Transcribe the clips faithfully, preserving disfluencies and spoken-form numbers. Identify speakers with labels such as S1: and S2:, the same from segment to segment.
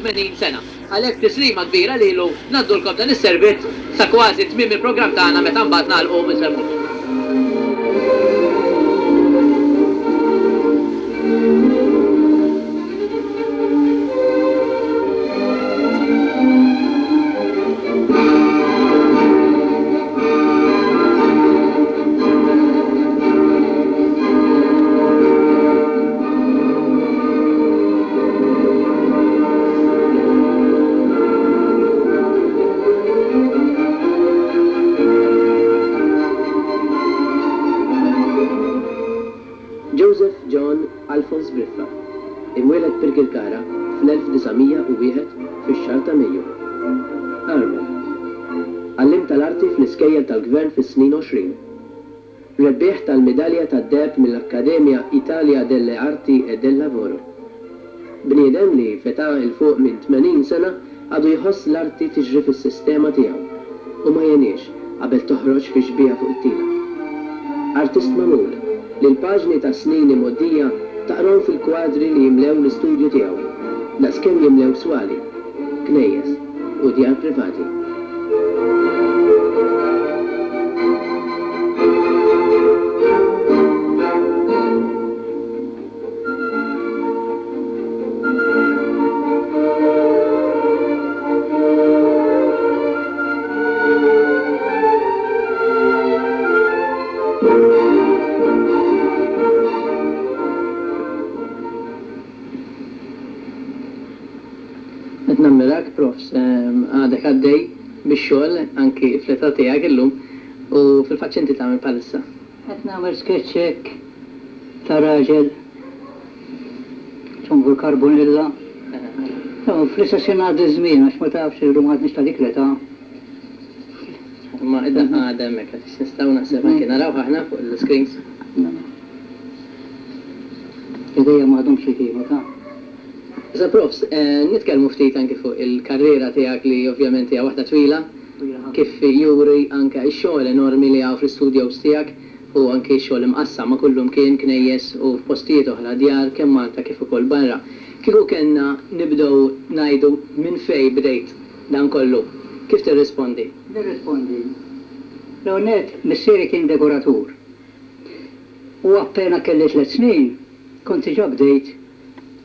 S1: tmenin sena. Għalhekk tislima kbira lilu ngħaddulkom dan is-servizz sa kważi tmiem il-programm tagħna meta mbagħad nagħlqu u nsellmulkom.
S2: Joseph John Alphonse Briffa, imwieled Birkirkara fl-elf disa' mija u wieħed fix-xahar ta' Mejju. Armel. Għalliem tal-arti fl-iskejjel tal-gvern fis-snin għoxrin. Rebbieħ tal-midalja tad-deheb mill-Akkademja Italia delle Arti e del Lavoro. Bniedem li f'età 'il fuq minn tmenin sena għadu jħoss l-arti tiġri fis-sistema tiegħu u ma jeniex qabel toħroġ fi xbieha fuq it-tila. Artist magħmul li l-paġni ta' snin imgħoddija taqrahom fil-kwadri li jimlew l-istudju tiegħu, daqskemm jimlew swali, knejjes u djar privati.
S1: Qed nammirak, profs, għadek għaddej bix-xogħol anki fl-età tiegħek illum u fil-fatt x'inti tagħmel bħalissa?
S3: Qed nagħmel sketch hekk ta' raġel ċombu l-karbonilla. Fl-istess ħin għaddi żmien għax ma tafx illum għadniex ta' dik l-età.
S1: Imma id-daqqa għadha hemmhekk għax nistgħu naħseb anki naraw aħna fuq l-screens.
S3: Idejja ma għadhomx li kienu ta'.
S1: Issa profs, eh, nitkellmu ftit anki fuq il-karriera tiegħek li ovvjament hija waħda twila, kif juri anke x-xogħol enormi li hawn fl-istudios tiegħek u anke x-xogħol imqassam ma' kullum kien knejjes u f'postijiet oħra djar kemm Malta kif ukoll barra. Kieku kellna nibdew ngħidu minn fejn bdejt dan kollu, kif tirrispondi?
S3: Nirrispondi. L-ewwel nett missieri kien dekoratur. U appena kelli tliet snin kont diġà bdejt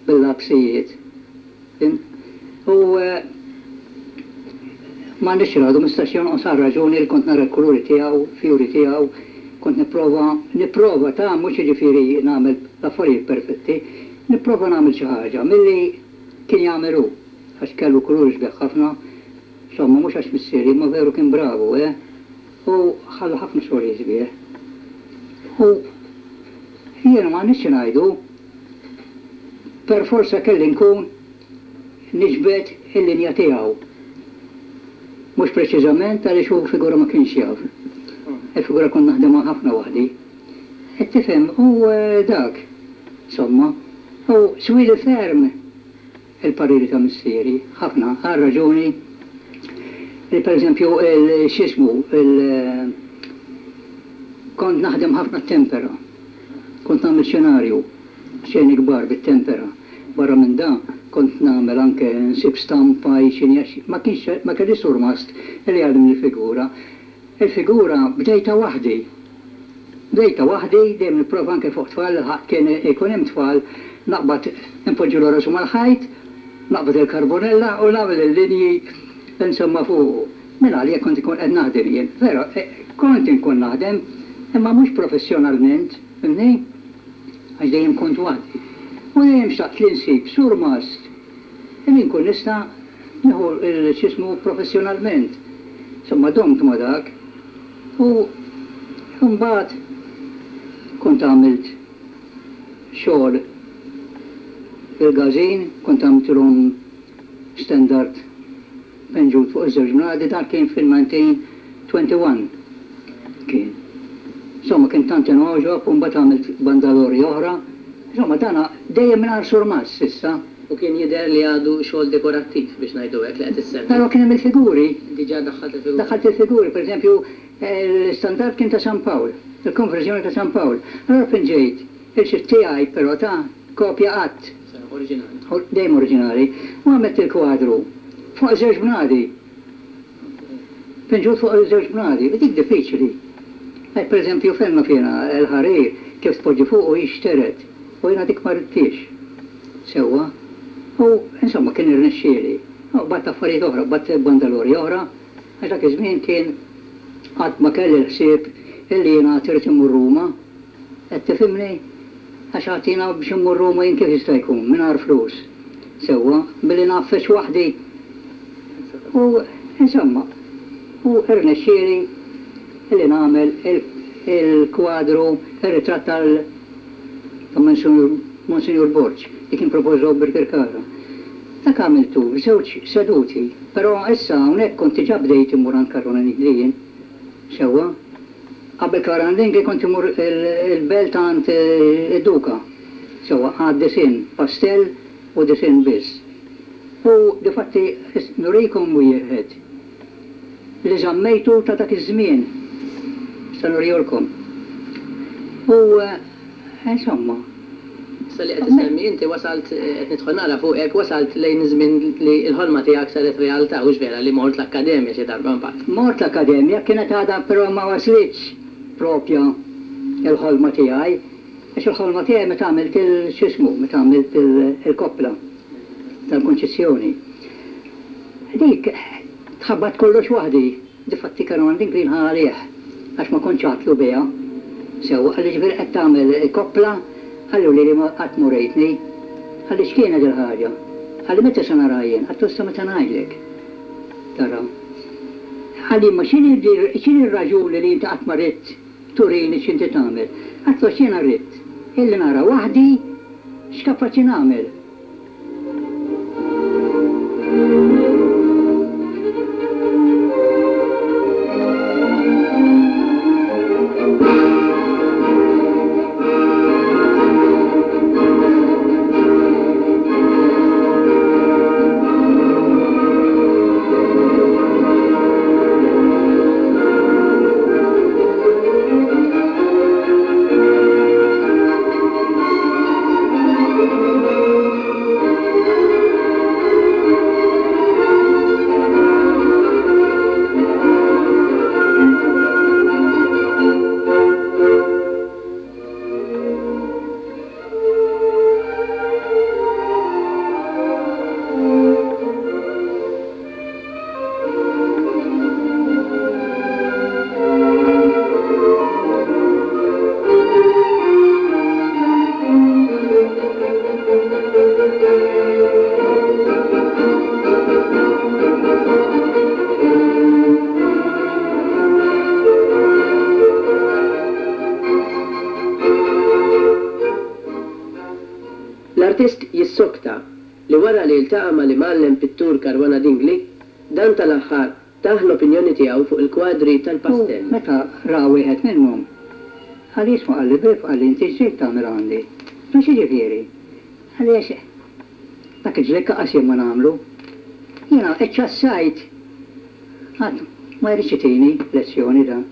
S3: bil-lapsijiet. U, eh, ma nix radu, mistax jonqos għal raġuni li kont nara l-kuluri tiegħu, fjuri tiegħu, kont nipprova, nipprova ta' mhux jiġifieri nagħmel l-affarijiet perfetti, nipprova nagħmel xi ħaġa milli kien jagħmel hu, għax kellu kuluri sbieħ ħafna, insomma mhux għax missieri, ma veru kien bravu, eh? U ħalla ħafna xogħlijiet sbieħ. U jiena ma nix ngħidu, per forza kelli nkun niġbed il-linja tiegħu. Mhux preċiżament għaliex hu figura ma kienx jaf. Il-figura kont naħdemha ħafna waħdi. Qed tifhem, u, eh, dak, insomma, u swili ferm il-pariri ta' missieri, ħafna, għal raġuni li per eżempju il-xismu, il-, kont naħdem ħafna tempera, kont nagħmel xenarju, xeni kbar bit-tempera. Barra minn da kont nagħmel anke nsib stampa, xini, għax ma kienx, ma kellix surmast li jgħallimni l-figura. Il-figura bdejta waħdi. Bdejta waħdi, dejjem nipprova anke fuq tfal, ħadd kien ikun hemm tfal, naqbad npoġġu l-rasu mal-ħajt, naqbad il-karbonella u nagħmel il-linji insomma fuq. Minn għalija kont ikun qed naħdem jien. Vera, eh, kont inkun naħdem, imma mhux professjonalment, fhimni? Għax dejjem kont waħdi. U dejjem xtaqt li nsib surmast li nkun nista' nieħu l-xismu professjonalment. Insomma, domt ma' dak. U mbagħad kont għamilt xogħol il-gazin, kont għamiltilhom standard penġut fuq iż-żewġ mnadi, dan kien fil-nineteen twenty-one kien. Insomma, kien tant inogħġob, u mbagħad għamilt bandalori oħra. Insomma, dana dejjem mingħajr surmast s'issa.
S1: U kien jidher li għadu xogħol dekorattiv biex ngħidu hekk li qed issemmi.
S3: Però kien hemm il-figuri.
S1: Diġà daħħalt il-figuri.
S3: Daħħalt il-figuri, per eżempju, l-istandard kien ta' San Pawl, il-konverżjoni ta' San Pawl. Allora pinġejt, il-xi tiegħi però ta' kopja qatt.
S1: Oriġinali.
S3: Dejjem oriġinali. U għamilt il-kwadru fuq żewġ bnadi. Pinġut fuq żewġ bnadi, u dik diffiċli. Per eżempju, fenna fina l-ħarir kif tpoġġi fuq u jixteret. U jiena dik ma ridtix. Sewwa. U insomma kien irnexxieli. U bat affarijiet oħra, bat bandalori oħra, għax dak iż-żmien kien qatt ma kelli l-ħsieb illi jiena trid immur Ruma. Qed tifhimni? Għax għatina biex immur Ruma jien kif jista' jkun mingħajr flus. Sewwa, billi nagħfex waħdi. U insomma, u irnexxieli illi nagħmel il-kwadru, ir-ritratt tal ta' Monsinjur Borg, li kien propożaw Birkirkara. Dak għamiltu f'żewġ seduti, però issa hawnhekk kont diġà bdejt immur għand Caruana Dingli jien. Sewwa. Qabel Caruana Dingli kont immur il-belt għand id-Duka. Sewwa, għad disinn, pastell u disinn biss. U difatti nurikom wieħed li żammejtu ta' dak iż-żmien. Issa nurihulkom. U insomma.
S1: Issa li qed issemmi inti wasalt qed nidħol nara fuqek, wasalt lejn iż-żmien li l-ħolma tiegħek saret realtà, hux vera li mort l-akkademja xi darba mbagħad.
S3: Mort l-akkademja kienet għadha però ma waslitx propja il-ħolma tiegħi, għax il-ħolma tiegħi meta għamilt il-xismu, meta għamilt il-koppla tal-Kunċizzjoni. Dik tħabbat kollox waħdi, difatti Caruana Dingli nħa għalih, għax ma kontx għatlu biha. Sewwa, qalli ġifieri qed tagħmel koppla, qallu li ma qatt murejtni. Qalli x'kienet il-ħaġa? Qalli meta se nara jien? Għattu issa meta ngħidlek. Tara. Qalli ma x'inhi r-raġuni li inti qatt ma ridt turini x'inti tagħmel? Għattu għax jiena rrid illi nara waħdi x'kapaċi nagħmel.
S2: L-artist jissokta li wara li ltaqa' mal-imgħallem pittur Caruana Dingli, dan tal-aħħar tah l-opinjoni tiegħu fuq il-kwadri tal-pastell.
S3: U meta ra wieħed minnhom, qal jisma' qalli Biff, qalli inti x'ġejt tagħmel għandi? Ma x'jiġifieri? Għaliex dak il-ġlekk qas jien ma nagħmlu. Jiena eċċassajt. Ħadd ma jridx itini lezzjoni dan.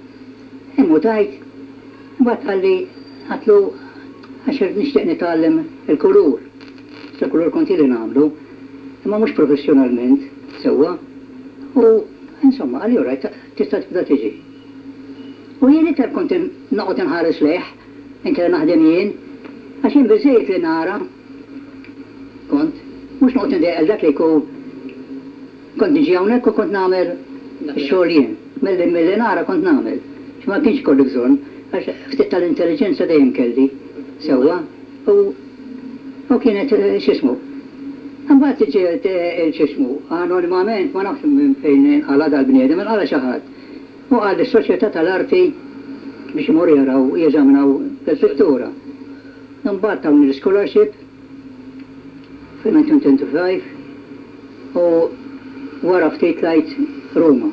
S3: Immutajt, imbagħad qalli għatlu għax nixtieq nitgħallem il-kulur. Il-kulur kont ili nagħmlu, imma mhux professjonalment sewwa. U insomma, qalli orajt tista' tibda tiġi. U jien iktar kont noqgħod inħares lejh, inkella naħdem jien, għax jien biżejjed li nara kont, mhux noqgħod indejjaq dak li jkun kont niġi hawnhekk u kont nagħmel ix-xogħol jien. Milli milli nara kont nagħmel. Ma kienx kollu bżonn, għax ftit tal-intelligenza dejjem kelli sewwa. U u kienet x'ismu. Imbagħad ġiet il-x'ismu, anonimament ma nafx minn fejn inqala' dal-bniedem, inqala' xi ħadd. U qal lis-Soċjetà tal-Arti biex imorru jaraw jeżaminaw il-pittura. Imbagħad tawni l-scholarship fil-nineteen twenty-five u wara ftit tlajt Ruma.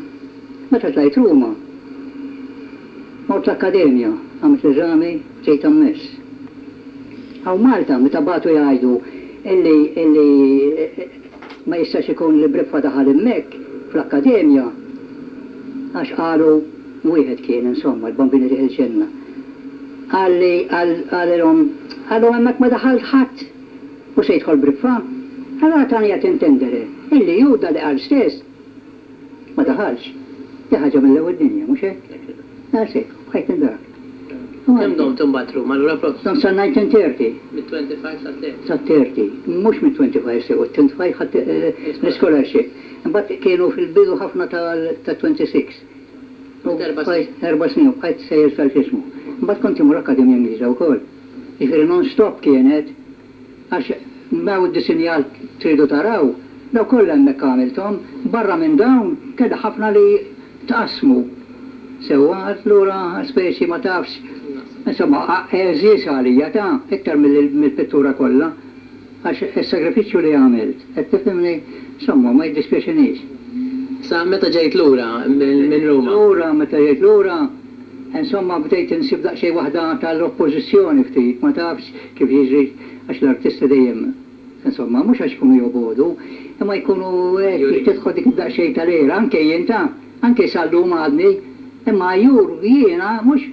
S3: Meta tlajt Ruma, mort l-akkademja, għamilt l-eżami, ġejt ammess. Hawn Malta, meta bagħtu jgħidu illi, illi ma jistax ikun li Briffa daħal hemmhekk fl-akkademja, għax qalu wieħed kien insomma l-bambini li il-ġenna. Qalli qalilhom qalhom hemmhekk ma daħal ħadd. U se jidħol Briffa? Allora tani qed intendere illi hu da li qal stess ma daħalx. Di ħaġa mill-ewwel dinja, mhux hekk? Daqshekk, bqajt indak.
S1: Kemm domt imbagħad Ruma allura prof?
S3: Domt sa nineteen thirty.
S1: Mit-twenty-five sa thirty.
S3: Sa thirty, mhux mit-twenty-five sew, it-twenty-five ħadt l-scholarship. Imbagħad kienu fil-bidu ħafna ta' twenty-six.
S1: Erba' snin.
S3: Erba' snin u bqajt sejjer sal-x'ismu. Imbagħad kont immur Akkademja Ingliża wkoll. Jiġifieri non-stop kienet, għax m'hawn id-disinjat tridu taraw, daw kollha hemmhekk għamilthom, barra minn dawn kellha ħafna li tqassmu. Sewwa, allura speċi ma tafx, insomma, għeżież għalija ta' iktar mill-pittura kollha, għax is-sagrifiċċju li għamilt, qed tifhimni, insomma, ma jiddispjaċinix.
S1: Sa meta ġejt lura minn Ruma?
S3: Lura, meta ġejt lura, insomma, bdejt insib daqsxejn waħda tal-oppożizzjoni ftit, ma tafx kif jiġri, għax l-artisti dejjem, insomma, mhux għax ikunu jobogħdu, imma jkunu hekk, tidħol dik daqsxejn tal-era, anke jien ta', anke sal-lum għadni, imma jur jiena mhux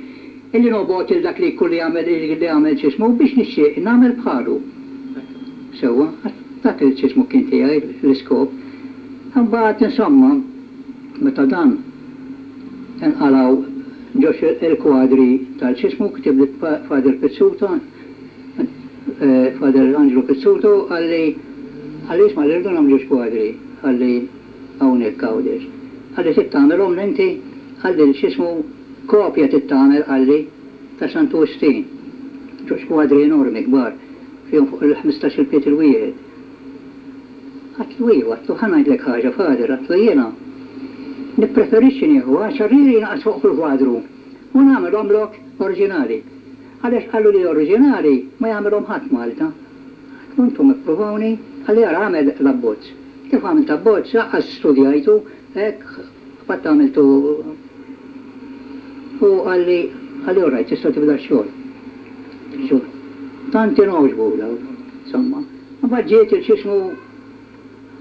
S3: illi nobgħod il dak li jkun li jagħmel li jagħmel x'ismu biex nixtieq nagħmel bħalu. Sewwa, dak il x'ismu kien tiegħi l-iskop. Imbagħad insomma, meta dan inqalgħu ġox il-kwadri tal-x'ismu, kitib li Father Pizzuto, Father Angelo Pizzuto, qalli qalli isma' li rridu nagħmlu ġox kwadri, qalli hawnhekk Għawdex. Qalli trid tagħmelhom inti, qalli x'ismu kopja trid tagħmel, qalli ta' Santu Wistin. Ġox kwadri enormi kbar, fihom fuq il-ħmistax il-piet il-wieħed. Għatlu iva, għatlu ħa ngħidlek ħaġa, Father, għatlu jiena nippreferixxi nieħu għaxar liri naqas fuq kull kwadru u nagħmelhom lok oriġinali. Għaliex qalu li oriġinali ma jagħmelhom ħadd Malta. Għatlu intom ippruvawni, qalli ara għamel l-abbozz. Kif għamilt abbozz, lanqas studjajtu, hekk qatt għamiltu. U qalli, qalli all right, tista' tibda x-xogħol. Xogħol. Tant inogħġbu dawk, insomma. Imbagħad ġiet il-x'ismu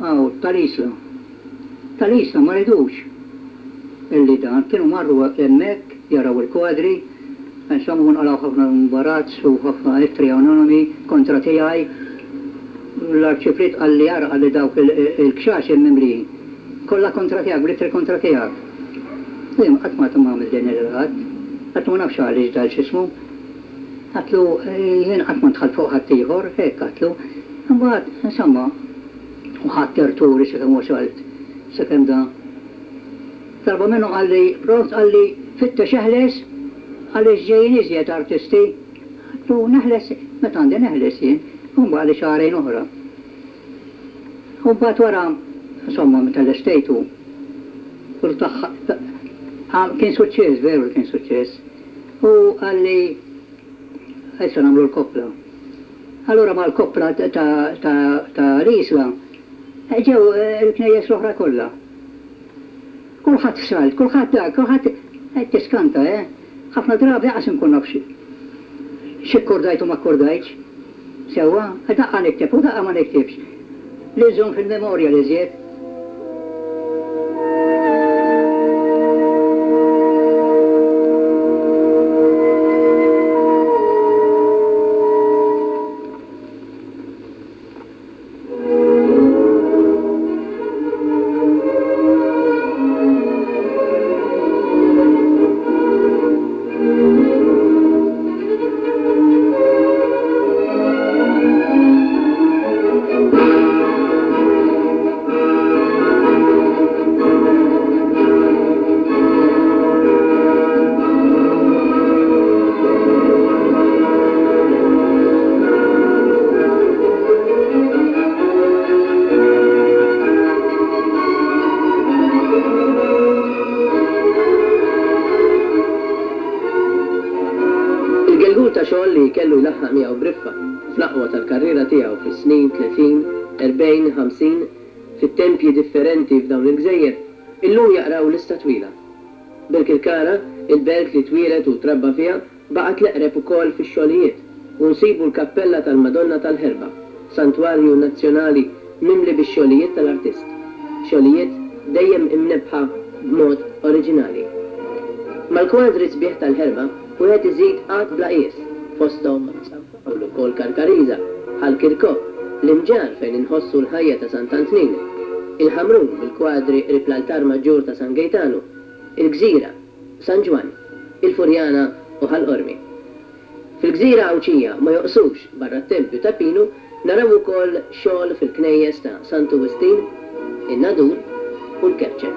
S3: hawn tal-Isla. Tal-Isla ma ridux illi dan, kienu marru hemmhekk jaraw il-kwadri, insomma nqalgħu ħafna imbarazz u ħafna ittri anonimi kontra tiegħi. L-arċipriet qalli ara qalli dawk il-kxax il-mimlijin. Kollha kontra tiegħek, bl-ittri kontra tiegħek. Jien qatt ma għamil din il-ħadd, qatt ma nafx għaliex dal x'ismu. Għatlu jien qatt ma dħalt fuq ħadd ieħor, hekk għatlu. Imbagħad, insomma, u ħadd terturi sakemm wasalt, sakemm da. Darba minnu qalli, pront qalli fittex eħles għaliex ġejjin iżjed artisti. Għatlu neħles, meta għandi neħles jien, u mbagħad li xahrejn oħra. U mbagħad wara, insomma, meta lestejtu, kien suċċess, veru kien suċċess. U qalli, issa nagħmlu l-koppla. Allura mal-koppla ta' l-Isla, ġew il-knejjes l-oħra kollha. Kulħadd f'salt, kulħadd dak, kulħadd qed tiskanta, eh? Ħafna drabi qas inkun naf x'ikkordajt u ma kkordajtx. Sewwa, daqqa nikteb u daqqa ma niktibx. Li nżomm fil-memorja li żjed.
S2: Xogħol li kellu jlaħħaq miegħu Briffa fl-aqwa tal-karriera tiegħu fis-snin tletin, erbgħin, ħamsin, fit-tempji differenti f'dawn il-gżejjer, illum jaqraw lista twila. Birkirkara, il-belt li twieled u trabba fiha, baqgħet l-eqreb ukoll fix-xogħlijiet u nsibu l-kappella tal-Madonna tal-Ħerba, santwarju nazzjonali mimli bix-xogħlijiet tal-artist. Xogħlijiet dejjem imnebħa b'mod oriġinali. Mal-kwadri sbieħ tal-Ħerba, wieħed iżid qatt bla qies, fosthom San Pawl ukoll Karkariża, Ħal Kirkop,
S1: L-Imġarr fejn inħossu l-ħajja ta' Sant'Antnin, il-Ħamrun bil-kwadri qrib l-altar maġġur ta' San Gejtanu, il-Gżira, San Ġwann, il-Furjana u Ħal Qormi. Fil-Gżira Għawdxija ma joqsux barra t-tempju ta' Pinu naraw ukoll xogħol fil-knejjes ta' Santu Wistin, in-Nadur u l-Kerċem.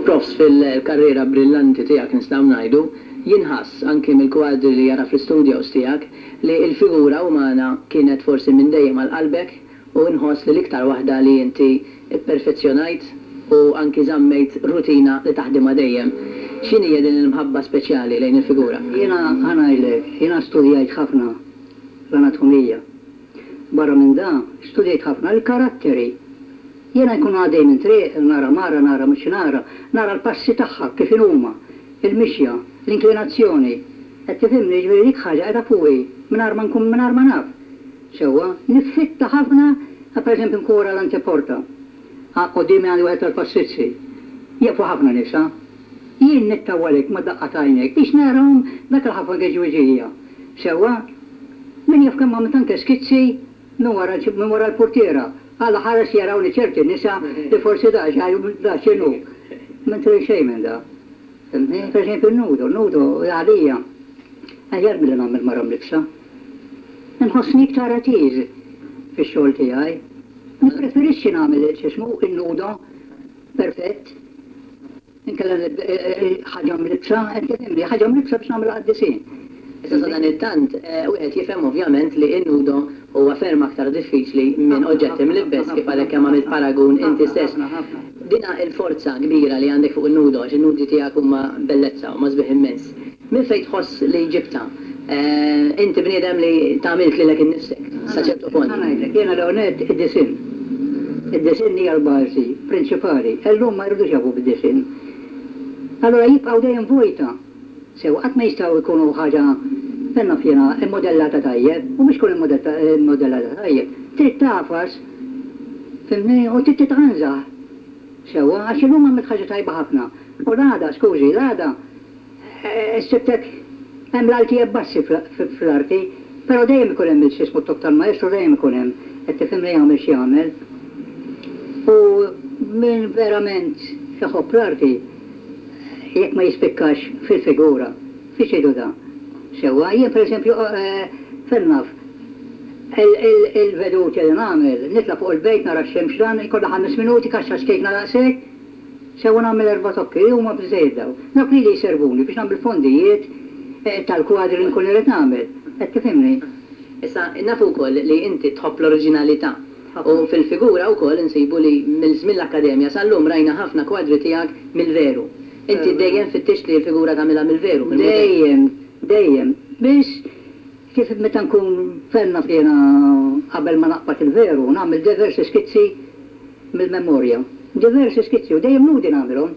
S1: Profs, fil-karriera brillanti tiegħek nistgħu ngħidu, jinħass anki mill-kwadri li jara fl-istudios tiegħek li l-figura umana kienet forsi minn dejjem għal qalbek u nħoss li l-iktar waħda li inti pperfezzjonajt u anki żammejt rutina li taħdimha dejjem. X'inhi din il-mħabba speċjali lejn il-figura?
S3: Jiena ħa ngħidlek, jiena studjajt ħafna l-anatomija. Barra minn da, studjajt ħafna l-karatteri. Jiena nkun għaddej minn triq, nara mara, nara mhux nara, nara l-passi tagħha kif inhuma, il-mixja, l-inklinazzjoni. Qed tifhimni, jiġifieri dik ħaġa qiegħda fuqi mingħajr ma nkun mingħajr ma naf. Sewwa, niffitta ħafna, pereżempju nkun wara l-anteporta. Quddiemi għandi wieħed tal-passizzi. Jieqfu ħafna nisa. Jien nittawwalek ma' daqqa t'għajnek biex narahom dak il-ħafna geġwiġija. Sewwa, min jaf kemm għamilt anke skizzi minn wara minn wara l-portiera. Alla ħares jarawni ċerti nisa li forsi da da x'inhu. Mentri xejn minn da. Fhimtni? Per eżempju n-nudo, n-nudo għalija aħjar milli nagħmel mara mlibsa. Nħossni iktar at ease fix-xogħol tiegħi. Nippreferixxi nagħmel x'ismu in-nudo perfett. Inkella ħaġa mlibsa, qed tifhimni, ħaġa mlibsa biex nagħmel qaddisin.
S1: Issa sa dan it-tant, wieħed jifhem ovvjament li n-nudo huwa ferm aktar diffiċli minn oġġetti mlibbes kif għalhekk kemm għamilt paragun inti stess. Dina il-forza kbira li għandek fuq in-nudo, għax in-nudi tiegħek huma bellezza, huma sbieħ immens. Minn fejn tħoss li ġibta? Inti bniedem li tagħmilt lilek innifsek sa ċertu punt.
S3: Ħa ngħidlek, jiena l-ewwel id-disinn. Id-disinn hija l-bażi prinċipali. Illum ma jridux jafu bid-disinn. Allura jibqgħu dejjem vojta. Sew qatt ma jistgħu jkunu ħaġa penna fjena immodellata tajjeb, u mhux tkun immodellata tajjeb. Trid tafas, fhimni, u trid titqanżaħ. Sewwa, għax illum għamilt ħaġa tajba ħafna. U l-għada, skużi, l-għada sibtek hemm l-alti e bassi fl-arti, però dejjem ikun hemm il-xismu t-tok tal-maestro, dejjem ikun hemm, qed tifhimni jagħmel x'jagħmel. U min verament iħobb l-arti, jekk ma jispikkax fil-figura, fiex jgħidu da? Sewwa, jien pereżempju fil-naf, il-veduti li nagħmel, nitla' fuq il-bejt nara x-xemx dan, ikollha ħames minuti, kaxxa xkejkna daqshekk, sewwa nagħmel erba' tokki, huma biżejjed daw. Dawk li jservuni biex nagħmel fondijiet tal-kwadri li nkun irid nagħmel. Qed tifhimni?
S1: Issa, nafu wkoll li inti tħobb l-oriġinalità. U fil-figura wkoll insibu li mill-żmien l-akkademja sal-lum rajna ħafna kwadri tiegħek mill-veru. Inti dejjem fittixt li l-figura tagħmilha mill-veru, mill-mudell.
S3: Dejjem, dejjem. Biss kif meta nkun fenna fjena qabel ma naqbad il-veru, nagħmel diversi skizzi mill-memorja. Diversi skizzi u dejjem nudi nagħmilhom.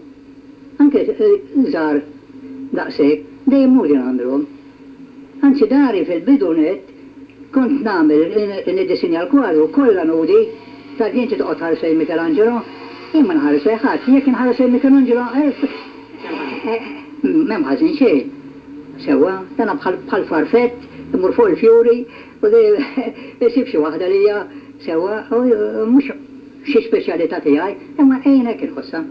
S3: Anke żgħar daqshekk, dejjem nudi nagħmilhom. Anzi dari fil-bidu net kont nagħmel niddisinja l-kwadru kollha nudi, ta' inti toqgħod tħares lejn Michelangelo, jien ma nħares lejn ħadd, jekk inħares lejn Michelangelo, m'hemm ħażin xejn. Sewwa, dana bħal farfett, imur fuq il-fjuri u isib xi waħda li hija sewwa, mhux xi speċjalità tiegħi, imma ejn hekk inħossha.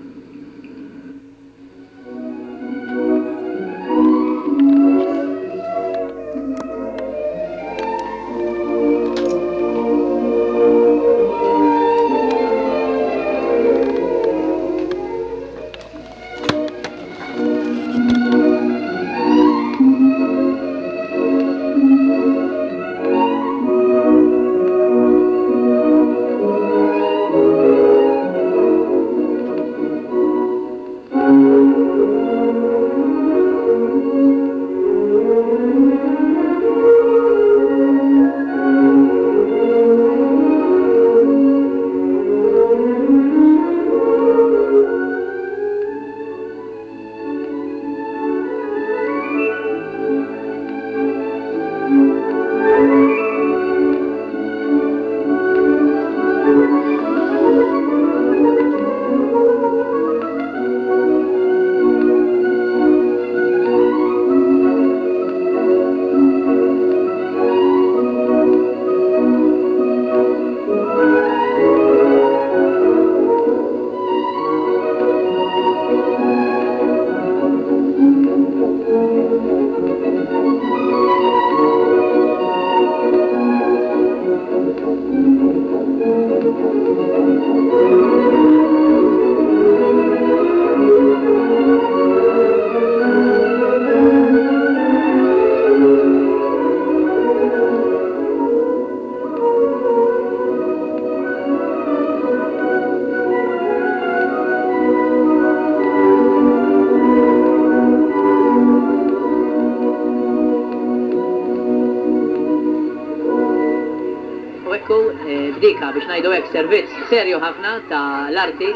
S1: Ekku, b'dika biex ngħidu hekk servizz serju ħafna ta' l-arti,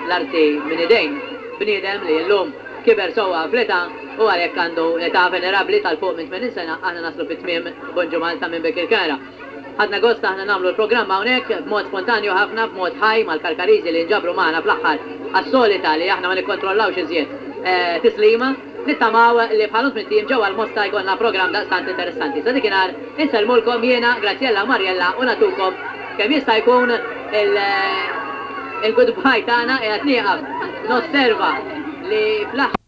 S1: l-arti minn idejn bniedem li llum kiber sewwa fl-età u għalhekk għandu età venerabbli tal-fuq minn tmenin sena, aħna naslu fi tmiem Bonġu Malta minn Birkirkara. Ħadna gost aħna nagħmlu l-programm hawnhekk b'mod spontanju ħafna, b'mod ħaj mal-Karkariżi li nġabru magħna fl-aħħar għas-solita li aħna ma nikkontrollawx iżjed tislima. Nittamaw li bħal tmint ijiem ġewwa l-Mosta jkollna programm daqstant interessanti. Sa dakinhar insellmulkom jiena, Graziella u Mariella u nagħtukom kemm jista' jkun il-goodbye tagħna. Qiegħed nieqaf nosserva li fl-aħħar